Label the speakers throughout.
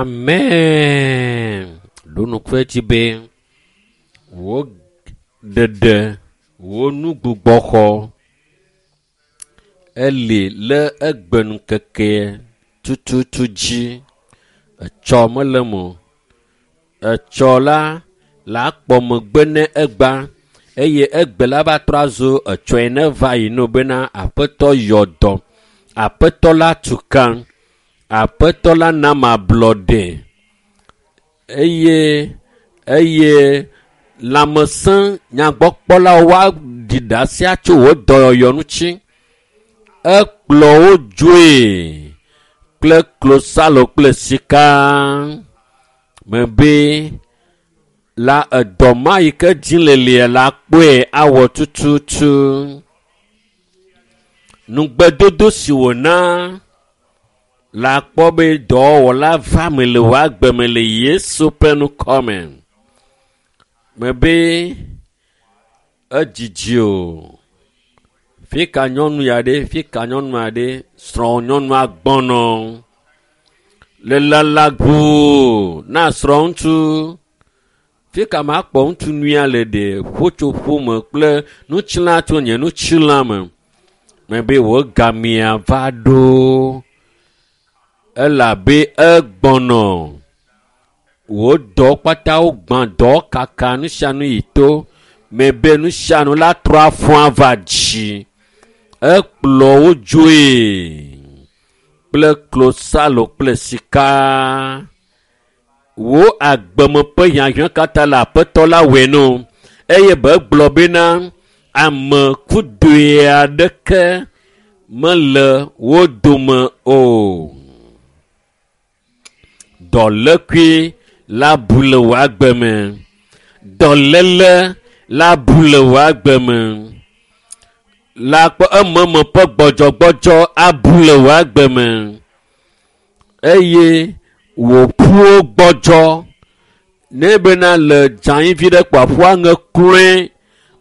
Speaker 1: Amen. Ɖo ŋku edzi be wò ɖeɖe, wò nugbugbɔxɔ eli le egbeŋkeke tututu dzi. Etsɔ mele eme o. Etsɔ la la kpɔ megbe ne egba eye egbe la va trɔ azu etsɔe ne va yi no bena aƒetɔ yɔ dɔ. Aƒetɔ la tu ka. Aƒetɔ la na ablɔɖe eye eye lãmesẽ nyagbɔkpɔlawo woaɖi ɖase atso wò dɔyɔyɔ ŋuti. Ekplɔ wo dzoe kple klosalo kple sika mebe la edɔ ma yi ke dzi le lia la kpɔe awɔ tututu. Nugbedodo si wòna la kpɔ be dɔwɔla va me le wò agbe me le Yesu ƒe ŋkɔ me. Mebe edzidzi o. Fi ka nyɔnu ya ɖe, fi ka nyɔnua ɖe, srɔ̃ nyɔnua gbɔnɔ. Le lala ʋuu na srɔ̃ ŋutsu. Fi ka makpɔ ŋutsu nyuia le ɖe ƒotsoƒo me kple nutsila tso nye nutsila me. Mebe wò gamea va ɖo elabe egbɔnɔ. Wò dɔ kpatawo gbã dɔ kaka nu sia nu yi to. Mebe nu sia nu la trɔ afɔ ava dzi. Ekplɔ wo dzoe kple klosalo kple sika. Wò agbeme ƒe hiahiã katã le aƒetɔ la wɔe no eye be gblɔ bena ame kudoe aɖeke mele wo dome o. Dɔlékui la bu le wò agbe me. Dɔléle la bu le wò agbe me. La kpɔ ememe ƒe gbɔdzɔgbɔdzɔ abu le wò agbe me eye wò ƒuwo gbɔdzɔ ne bena le dzanyivi ɖe kpɔ aƒua ŋe kloe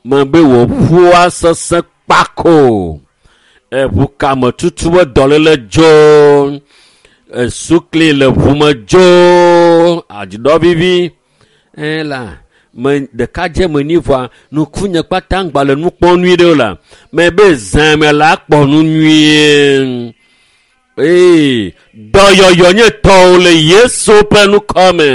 Speaker 1: me be wò ƒuwo asesẽ kpako. Eʋukame tutu ƒe dɔléle dzo, esukli le ʋume dzo, adziɖɔvivi ela me ɖekadze me nyi vɔa nukunye kpata ŋgba le nu kpɔm nyuie ɖe o la me be zã me la kpɔ nu nyuie. Ee, dɔyɔyɔ nye tɔwò le Yesu ƒe ŋkɔ me.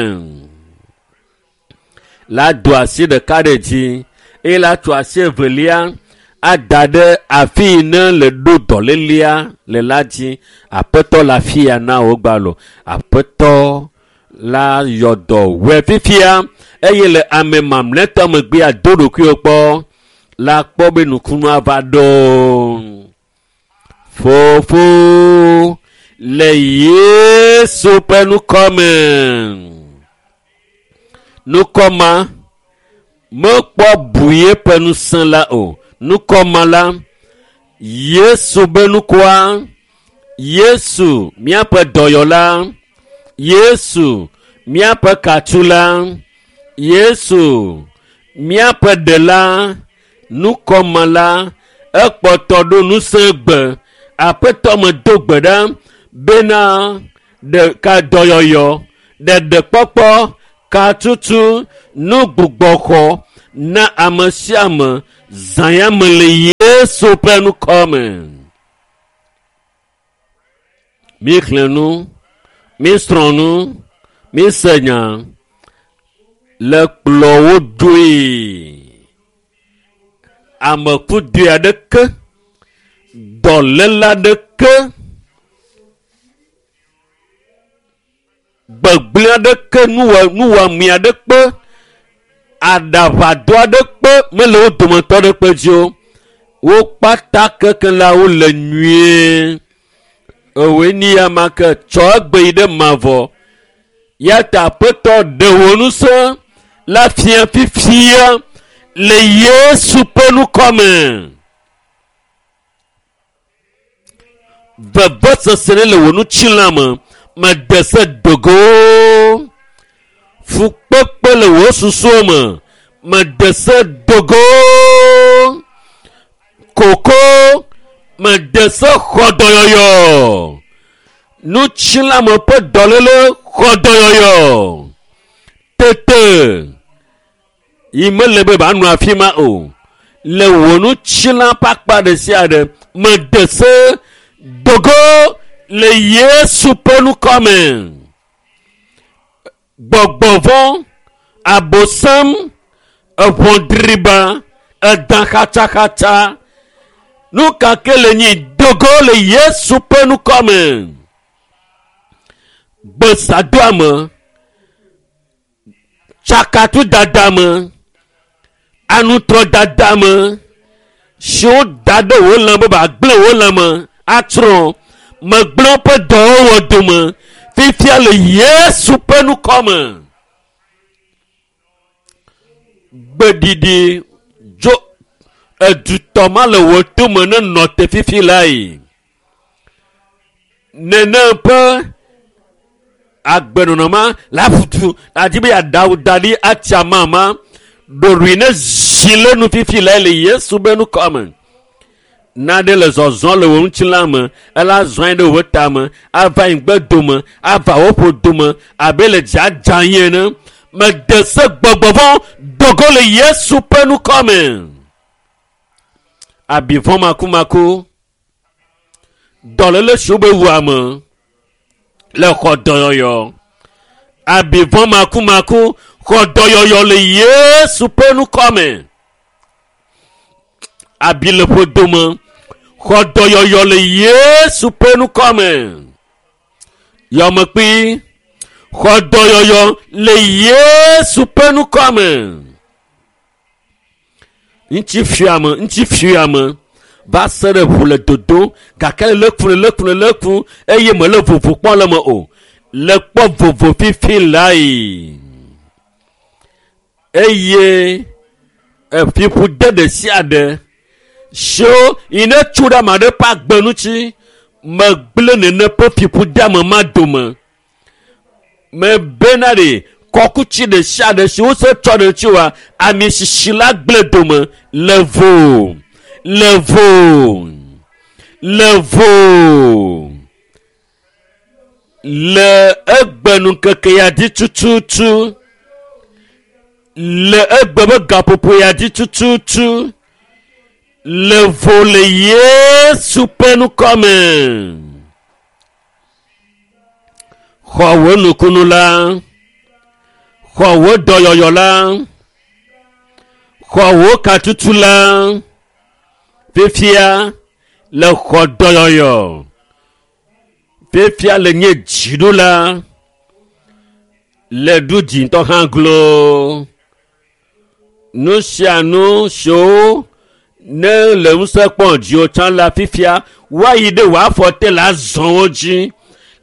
Speaker 1: La do asi ɖeka ɖe dzi eye la tso asi evelia ada ɖe afi yi ne le ɖo dɔlélia le la dzi. Aƒetɔ le afi ya na wò gbalo. Aƒetɔ la yɔ dɔ wɔe fifia eye le ame mamlɛtɔ megbea do ɖokuiwò kpɔ la kpɔ be nukunua va ɖo. Fofo le Yesu ƒe ŋkɔ me. Ŋkɔ ma mekpɔ bu yeƒe ŋusẽ la o. Ŋkɔ ma la, Yesu be ŋkɔa, Yesu míaƒe dɔyɔla, Yesu míaƒe katula, Yesu míaƒe ɖela, ŋkɔ ma la, ekpɔtɔ ɖo ŋusẽ gbe. Aƒetɔ me do gbe ɖa bena ɖeka dɔyɔyɔ, ɖeɖekpɔkpɔ, katutu, nugbugbɔxɔ na ame sia ame zã ya me le Yesu ƒe ŋkɔ me. Míxlẽ nu, mísrɔ̃ nu, míse nya le kplɔ wo dzoe. Ame kudoe aɖeke, dɔléle aɖeke, gbegblẽ aɖeke, nuwɔame aɖeke, aɖaʋadɔ aɖeke mele wo dometɔ aɖeke dzi o. Wo kpata keke la wole nyuie. Ewoe ni ya ma ke tsɔ egbe yi ɖe mavɔ. Ya ta aƒetɔ ɖe wò ŋusẽ la fia fifia le Yesu ƒe ŋkɔ me. Vevesese ɖe le wò ŋutilã me mede se dogo. Fukpekpe le wò susuwo me mede se dogo. Koko mede se xɔ dɔyɔyɔ. Ŋutilãme ƒe dɔléle Xɔ dɔyɔyɔ. Tete yi mele be ba nɔ afi ma o. Le wò ŋutilã ƒe akpa ɖe sia ɖe mede se dogo le Yesu ƒe ŋkɔ me. Gbɔgbɔ vɔ̃, abosam, eʋɔ driba, edã xatsaxatsa. Nu ka ke le nyi dogo le Yesu ƒe ŋkɔ me. Gbesadoame, tsakatudada me, anutrɔdada me, siwo da ɖe wò lãme be agblẽ wò lãme atsrɔ̃ megblẽ woƒe dɔwɔwɔ dome fifia le Yesu ƒe ŋkɔ me. Gbeɖiɖi dzo edutɔ ma le wò tome ne nɔ te fifi lae. Nene ƒe agbenɔnɔ ma la ƒutu adi be yeaɖawu da ɖi atsi amama ɖoɖoe ne zi le nu fifi lae le Yesu be ŋkɔ me. Naɖe le zɔzɔ le wò ŋutilã me, ela zɔe ɖe wò tame, ava anyigbe dome, ava wò ƒodome abe le dzadza yi ene. Mede se gbɔgbɔ vɔ̃ dogo le Yesu ƒe ŋkɔ me. Abi vɔ̃ makumaku, dɔléle siwo be wu ame le xɔ dɔyɔyɔ. Abi vɔ̃ makumaku xɔ dɔyɔyɔ le Yesu ƒe ŋkɔ me. Abi le ƒodome xɔ dɔyɔyɔ le Yesu ƒe ŋkɔ me. Yɔmekpui xɔ dɔyɔyɔ le Yesu ƒe ŋkɔ me. Ŋutifiame va se ɖe ʋu le dodo gake le ku le ku le ku eye mele vovo kpɔm le me o. Le kpɔ vovo fifi lae. Eye efiƒode ɖe sia ɖe siwo yi ne tso ɖe ame aɖe ƒe agbe ŋuti megblẽ nene ƒe fiƒodeame ma dome. Mebena ɖe kɔkuti ɖe sia ɖe si wose tsɔ ɖe ŋuti wa ami sisi la gblẽ dome le vo le vo le vo le egbe ya dzi tututu le egbe be gaƒoƒo ya dzi tututu le vo le Yesu ƒe ŋkɔ me. Xɔ wò nukunu la, xɔ wò dɔyɔyɔ la, xɔ wò katutu la, fifia le xɔ dɔyɔyɔ, fifia le nye dziɖula, le ɖu dzi ŋutɔ hã glo. Nu sia nu siwo ne le ŋusẽ kpɔm dziwò tsã la fifia woayi ɖe wò afɔ te le azɔ wo dzi,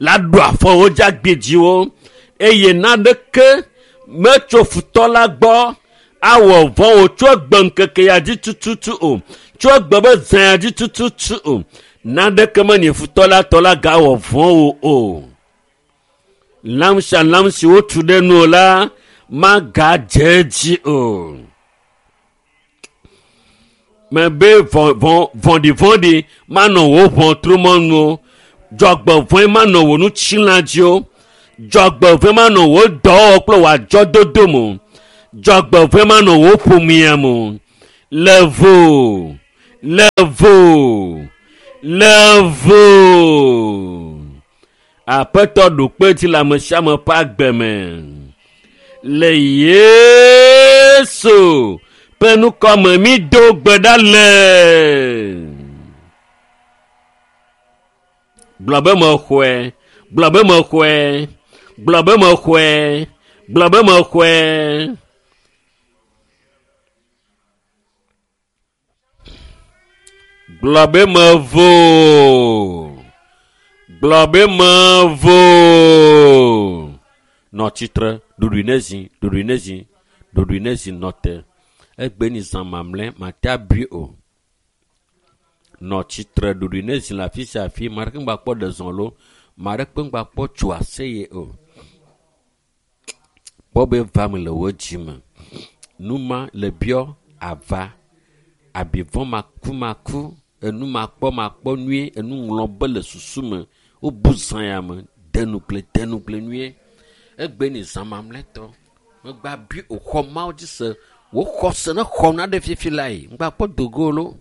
Speaker 1: la ɖu afɔ wo dzi agbi dziwo eye naneke metso futɔ la gbɔ awɔ vɔ̃ wò tso egbe ŋkeke ya dzi tututu o, tso egbe be zã ya dzi tututu o. Naneke menye futɔ la tɔ la gawɔ vɔ̃ wò o. Lãm sia lãm si wotu ɖe nuwò la magadze edzi o. Mebe vɔ̃ɖivɔ̃ɖi manɔ wò ʋɔtrumɔnu o. Dzɔgbevɔ̃e manɔ wò ŋutilã dzi o. Dzɔgbevɔ̃e manɔ wò dɔwɔwɔ kple wò adzɔdodo me o. Dzɔgbevɔ̃e manɔ wò ƒomea me o. Le vo, le vo, le vo. Aƒetɔ ɖo kpe dzi le ame sia ame ƒe agbe me. Le Yesu ƒe ŋkɔ me mi do gbe ɖa le. Gblɔ be mexɔe, gblɔ be mexɔe, gblɔ be mexɔe, gblɔ be mexɔe. Gblɔ be mevo. Gblɔ be mevo. Nɔ tsitre, ɖoɖoe ne zi, ɖoɖoe ne zi, ɖoɖoe ne zi nɔ te. Egbe ni zã mamlɛ, mate abui o. Nɔ tsitre, ɖoɖoe ne zi le afi sia afi. Ame aɖeke ŋgba kpɔ ɖe zɔ lo, ame aɖeke ŋgba kpɔ tso aseye o. Kpɔ be va me le wò dzi me. Numa le biɔ ava. Abi vɔ̃ makumaku, enu makpɔmakpɔ nyuie, enu ŋlɔ be le susu me. Wobu zã ya me, de nugble, de nugble nyuie. Egbe ni zã mamlɛtɔ. Megba bi wòxɔ Mawu dzi se. Wò xɔse ne xɔ na ɖe fifi lae. Ŋgba kpɔ dogo lo.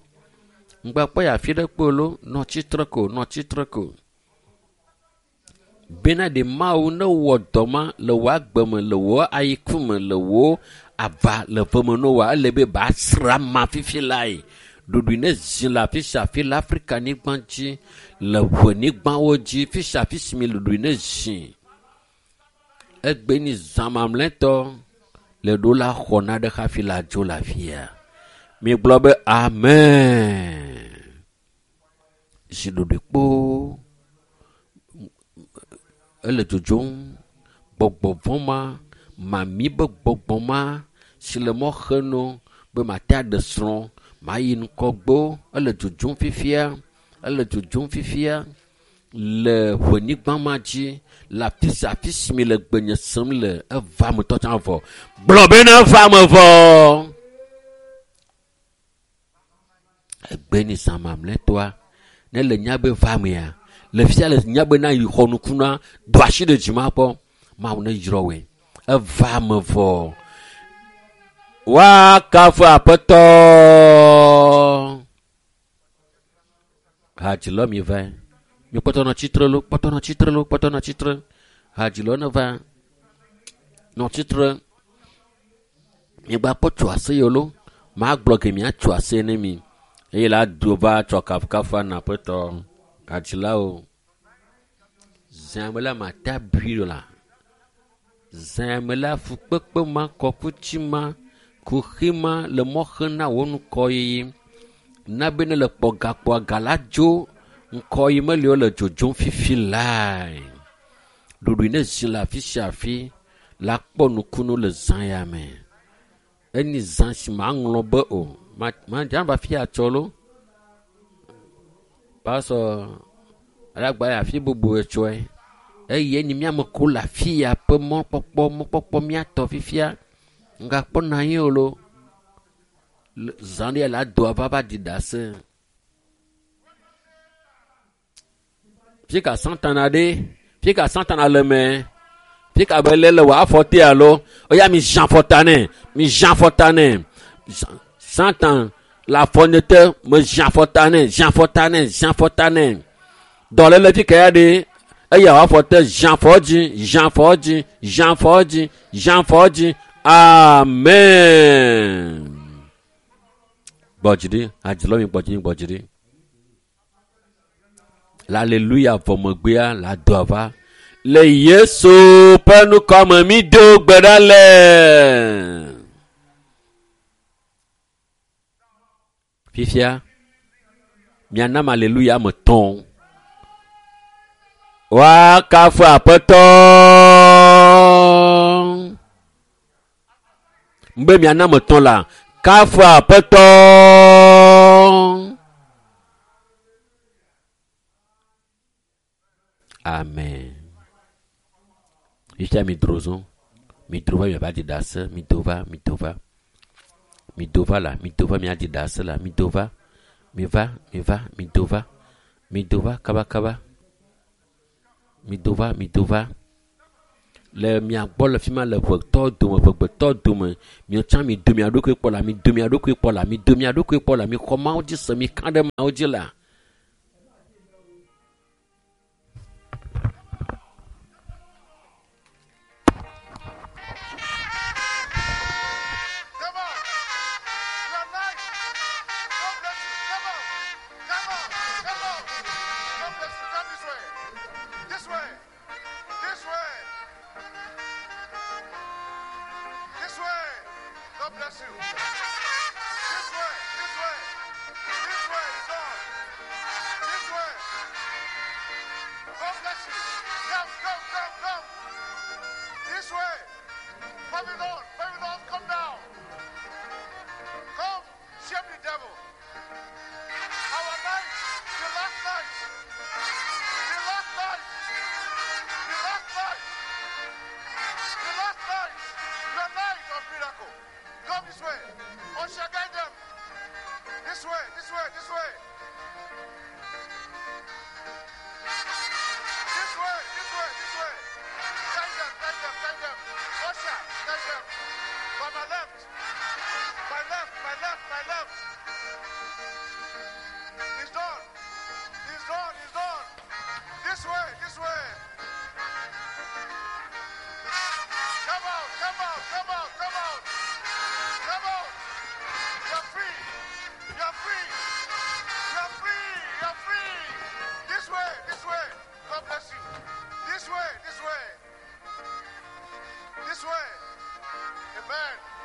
Speaker 1: Ŋgba kpɔ yi afi ɖe kpo lo. Nɔ tsitre ko, nɔ tsitre ko. Bena ɖe Mawu ne wɔ dɔ ma le wò agbe me, le wò ayiku me, le wò ava le ve me no wa, ele be ba sra ma fifi lae. Ɖoɖoe ne zi le afi sia afi le Afrika nyigba dzi, le ʋe nyigbawo dzi, fi sia afi si mi ɖoɖoe ne zi. Egbe ni zã mamlɛtɔ le ɖo la xɔ na ɖe hafi la dzo le afia. Mi gblɔ be amen. Zi ɖoɖoe kpoo. Ele dzodzom. Gbɔgbɔ vɔ̃ ma, mami be gbɔgbɔ ma si le mɔ xe no be mate aɖe srɔ̃, mayi ŋgɔgbe. Ele dzodzom fifia. Ele dzodzom fifia le ʋenyigba ma dzi le afi sia afi si mi le gbenye sem le eva me tɔ tsã vɔ. Gblɔ bena eva me vɔ. Egbe ni zã mamlɛtɔa ne le nya be va mea le fia le nya be na yi xɔ nuku na do asi ɖe dzi ma kpɔ Mawu ne yrɔ woe. Eva me vɔ. Woakafu Aƒetɔ. Hadzilɔ mi va. Mi kpɔtɔ nɔ tsitre lo, kpɔtɔ nɔ tsitre lo, kpɔtɔ nɔ tsitre. Hadzilɔ ne va. Nɔ tsitre. Mi gba kpɔ tso aseye lo. Magblɔ ke miatso aseye ne mi. Eye la do va tsɔ kafukafu na Aƒetɔ. Hadzilawo. Zã me la mate abui la. Zã me la fukpekpe ma, kɔkuti ma, kuxi ma le mɔ xem na wò ŋkɔyiyi. Na be ne le kpɔ gakpoa ga la dzo ŋkɔyi meli wo le dzodzom fifi lae. Ɖoɖoe ne zi le afi sia afi la kpɔ nukunu le zã ya me. Enyi zã si maŋlɔ be o. Ma ma dza va fi atsɔ lo. Pasɔ alagba yi afi bubu etsɔe. Eye enyi míame ko le afi ya ƒe mɔkpɔkpɔ mɔkpɔkpɔ míatɔ fifia. Ŋgakpɔ na anyi o lo. Zã ɖe la do ava va ɖi ɖase. Fika Satana ɖe, fika Satana le me, fika be lé le wò afɔ te alo, eya mi zã afɔta nɛ, mi zã afɔta nɛ. Satan le afɔ nye te, me zã afɔta nɛ, zã afɔta nɛ, zã afɔta nɛ. Dɔléle fika ya ɖe, eya wò afɔ te, zã afɔ dzi, zã afɔ dzi, zã afɔ dzi, zã afɔ dzi. Amen. Gbɔ dzi ɖi, hadzilɔ mi gbɔ dzi ɖi, gbɔ dzi ɖi. Le aleluya vɔ megbea le ado ava. Le Yesu ƒe ŋkɔme mi do gbe ɖa le. Fifia, mianam aleluya me tɔ̃. Woakafu Aƒetɔ. Be mianam etɔ̃ la, kafu Aƒetɔ. Amen. Fifia mi dro zɔ. Mi dro va miava ɖi ɖase. Mi do va, mi do va. Mi do va la, mi do va miaɖi ɖase la, mi do va. Mi va, mi va, mi do va. Mi do va kaba kaba. Mi do va, mi do va. Le mia gbɔ le fi ma le ʋetɔ dome, ʋegbetɔ dome. Miatsã mi do mia ɖokui kpɔ la, mi do mia ɖokui kpɔ la, mi do mia ɖokui kpɔ la, mi xɔ Mawu dzi se, mi ka ɖe Mawu dzi la.
Speaker 2: Come on. Your night. God bless you. Come on. Come on. Come on. God bless you. Come this way. This way. This way. This way. God bless you. This way. This way. This way is on. This way. God bless you. Come, come, come, come. This way. Babylon, Babylon, come down. Come, shame the devil. Our night, the last night, the last night, the last night, the last night, your night of miracle. Come this way. Usher, guide them. This way, this way, this way. This way, this way, this way. Guide them, guide them, guide This way, this way. Come out, come out, come out, come out. Come out. You're free. You're free. You're free. You're free. This way, this way. God bless you. This way, this way. This way. Amen.